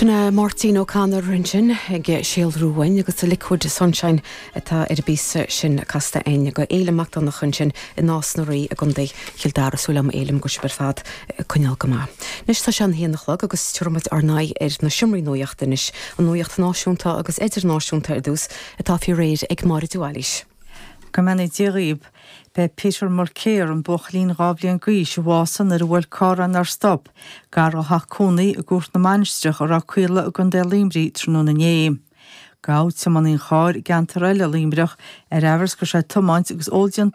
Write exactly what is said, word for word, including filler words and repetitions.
Sin é Máirtín O'Connor ansin ag síolrú uainn agus the Liquid Sunshine atá ar an bpíosa sin casta againn do Fhéilim Mac Donncha ansin i Nás na Rí i gContae Chill Dara súil agam Fhéilim go bhfuil sibh ar fad coinneáil go maith. Anois tá sé an haon a chlog agus tabharfaimid ár n-aghaidh ar na seomraí nuachta anois an nuacht náisiúnta agus idirnáisiúnta ar dtús atá faoi réir ag Máire Dualís. Go mbeannaí Dia dhaoibh, B'é Peter Mulcair an buachaillín dhá bhliain d'aois a bhásaigh nuair a bhuail carr é nár stop, gar dá theach cónaí i gCúirt na Mainistreach i Ráth Caola i gContae Luimnigh tráthnóna inné. Gabhadh tiománaí an chairr i gceantar eile Luimneach ar amhras go raibh sé ag tiomáint agus ól déanta